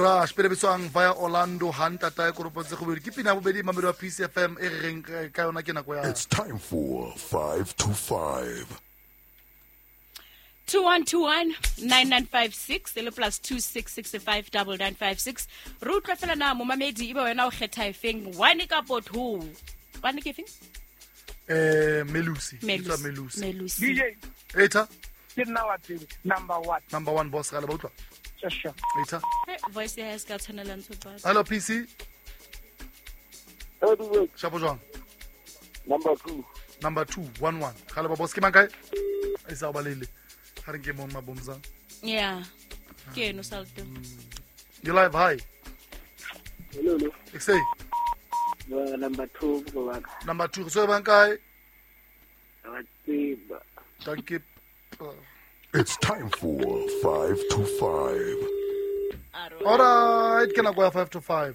Rush pele bitswang via Orlando ha ntata e koropotse go bobedi ke pina ya bobedi mamedi wa PCFM e re reng ka yona ke nako ya It's time for 5 to 5. 2121 9956 e le plus 2665 9956 re utlwa fela na momamedi ebe wena o kgetha efeng one kapo two one ke efeng Melusi. Bitswa Melusi. Melusi. DJ Eta ke nna wa pele number one. Number one boss ga le ba utlwa. Sure. Eta. Voice ya hae se ka tshwanela ntho tsa Hello PC. Shapo jwang? Number 2. Number 2 1 1. Ga le ba boss ke mang kae? E sa o balele. Ga re nke mo mabomza. Yeah, ke eno salto. You live hi. Hello, hello. Ek sê Number 2 go wa ka. Number 2 so bang kae? Wa tseba. Thank you. It's time for 5 to 5. All right, ke nako ya 5 to 5.